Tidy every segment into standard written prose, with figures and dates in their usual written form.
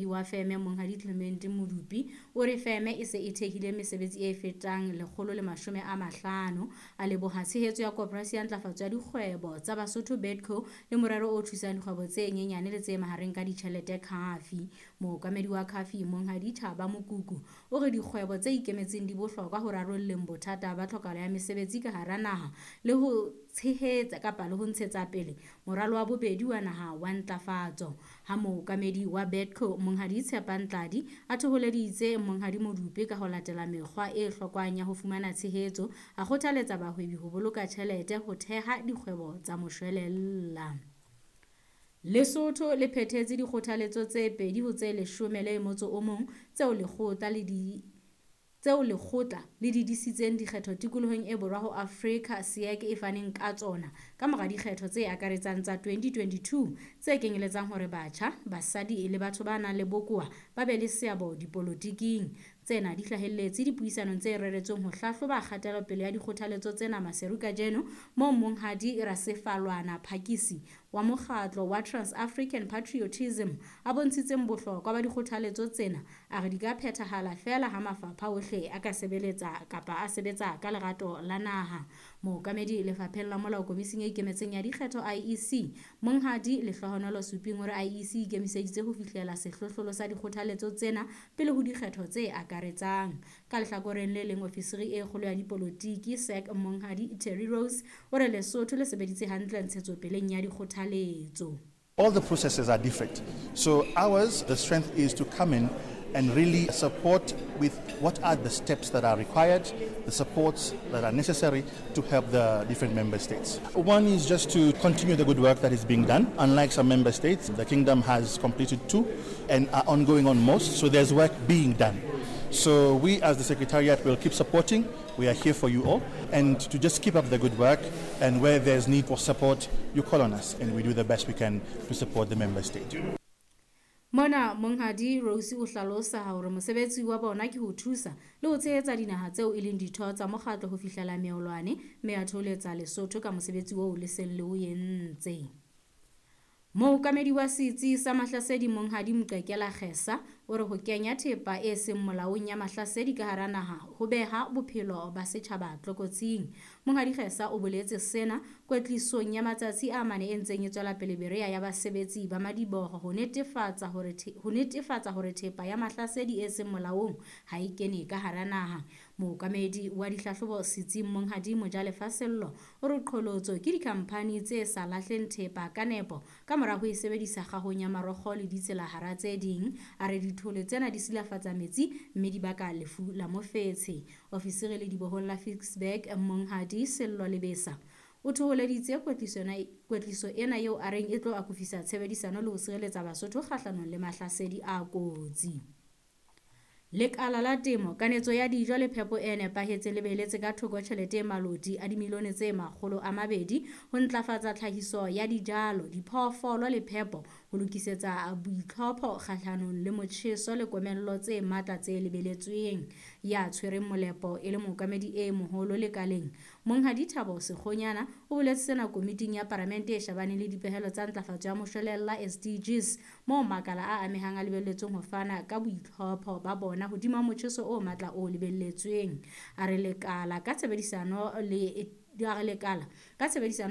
Wa feme Monghadi Clement Modupi o re feme e se e thehile mesebetsi e fetang 150. A leboha tshehetso ya Koporasi ya Ntlafatso ya Dikgwebo tsa Basotho BEDCO le morero o thusang dikgwebo tse nyenyane le tse mahareng ka ditjhelete CAFI. Mookamedi wa CAFI Monghadi Thaba Mokuku o re dikgwebo tse ikemetseng di bohlokwa ho rarolleng bothata ba tlhokahalo ya mesebetsi ka hara naha le ho tshehetsa kapa le ho ntshetsa pele moralo wa bobedi wa naha wa ntlafatso. Ha mookamedi wa BEDCO Monghadi Tshepang Tladi a thoholeditse Monghadi Modupi ka ho latela mekgwa e hlokwang ya ho fumana tshehetso, a kgothaletsa bahwebi ho boloka tjhelete ho theha dikgwebo tsa moshwelella. Lesotho le phethetse dikgothaletso tse 2 ho tse 11 tseo lekgotla le di tseo lekgotla le didisitseng dikgetho tikolohong e borwa ho Afrika SIAC e faneng ka tsona ka mora dikgetho tse akaretsang tsa 2022 tse kenyeletsang hore batjha, basadi le batho ba nang le bokowa ba be le seabo dipolotiking. Tsena di hlahelletse dipuisanong tse reretsweng ho hlahloba kgatelopele ya dikgothaletso tsena Maseru kajeno moo Monghadi Rasefalwana Phakisi wa mokgatlo wa Trans-African Patriotism a bontshitseng bohlokwa ba dikgothaletso tsena, a re di ka phethahala feela ha mafapha ohle a ka sebeletsa kapa a sebetsa ka lerato la naha. Mookamedi lefapheng la molao komising e ikemetseng ya dikgetho IEC, Monghadi Lehlohonolo Suping o re IEC e ikemiseditse ho fihlela sehlohlolo sa dikgothaletso tsena pele ho dikgetho tse akaretsang. Ka lehlakoreng le leng, ofisiri e kgolo ya dipolotiki SAC Monghadi Terry Rose o re Lesotho le sebeditse hantle ntshetsopeleng ya dikgothaletso. All the processes are different. So ours, the strength is to come in and really support with what are the steps that are required, the supports that are necessary to help the different member states. One is just to continue the good work that is being done. Unlike some member states, the kingdom has completed 2 and are ongoing on most, so there's work being done. So we as the Secretariat will keep supporting. We are here for you all, and to just keep up the good work, and where there's need for support, you call on us and we do the best we can to support the member state. Mona Monghadi Rose o hlalosa hore mosebetsi wa bona ke ho thusa le ho tshehetsa dinaha tseo e leng ditho tsa mokgatlo ho fihlela meolwane, mme a thoholetsa Lesotho ka mosebetsi oo le seng le o entse. Mookamedi wa setsi sa Mahlasedi Monghadi Mqekela Kgesa o re ho kenya thepa e seng molaong ya mahlasedi ka hara naha ho beha bophelo ba setjhaba tlokotsing. Monghadi Kgesa o boletse sena kwetlisong ya matsatsi a mane e ntseng e tswela pele Berea ya basebetsi ba madiboho ho netefatsa hore thepa ya mahlasedi e seng molaong ha e kene ka hara naha. Mookamedi wa dihlahlobo setsing Monghadi Mojalefa Sello o re qholotso ke dikhamphani tse sa lahleng thepa ka nepo ka mora ho e sebedisa kgahong ya marokgo le ditsela hara tse ding. A re dithole tsena di silafatsa metsi mme di baka lefu la mofetshe. Ofisiri le dibohong la Ficksburg Monghadi Sello Lebesa o thoholeditse kwetliso ena eo a reng e tlo akofisa tshebedisano le ho sireletsa Basotho kgahlanong le mahlasedi a kotsi. Lekala la temo, kanetso ya dijo le phepo e nepahetseng le beheletse ka thoko tjhelete e maloti a dimilione tse 200 ho ntlafatsa tlhahiso ya dijalo, diphoofolo le phepo ho lokisetsa boitlhopho kgahlanong le motjheso le komello tse matla tse lebeletsweng. Ya tshwereng molepo e le mookamedi e moholo lekaleng, Monghadi Thabo Sekgonyana o boletse sena komiting ya Palamente e shebaneng le dipehelo tsa ntlafatso ya moshwelella SDGs, moo makala a amehang a lebelletsweng ho fana ka boitlhopho ba bona hodima motjheso o matla o lebelletsweng. A re lekala ka tshebedisano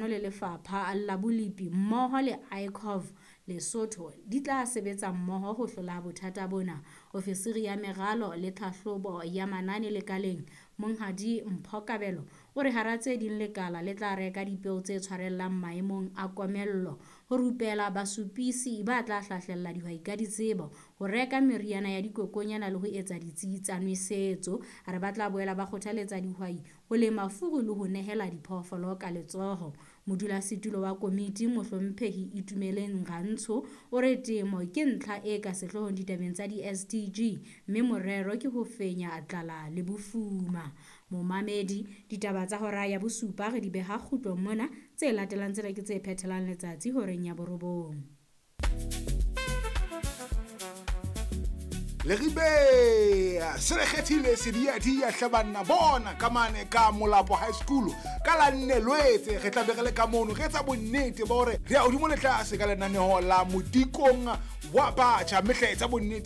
le lefapha la bolepi mmoho le ICOV Lesotho di tla sebetsa mmoho ho hlola bothata bona. Ofisiri ya meralo le tlhahlobo ya manane lekaleng Monghadi Mpho Kabelo o re hara tse ding lekala le tla reka dipeo tse tshwarellang maemong a komello, ho rupela basupisi ba tla hlahlella dihwai ka ditsebo, ho reka meriana ya dikokonyana le ho etsa ditsi tsa nwesetso. A re ba tla boela ba kgothaletsa dihwai ho lema furu le ho nehela diphoofolo ka letsoho. Modulasetulo wa komiti Mohlomphehi Itumeleng Rantsho o re temo ke ntlha e ka sehloohong ditabeng tsa di-SDG, mme morero ke ho fenya tlala le bofuma. Momamedi, ditaba tsa hora ya bosupa re di beha kgutlong mona, tse latelang tsena ke tse phethelang letsatsi horeng ya 9. Leribe se re kgethile sediadia hle banna bona ka mane ka Molapo High School ka la nne Lwetse re tla be re le ka mono re etsa bonnete ba hore re ya hodimo le tlase ka lenaneo la modikong wa batjha mme hle etsa bonnete.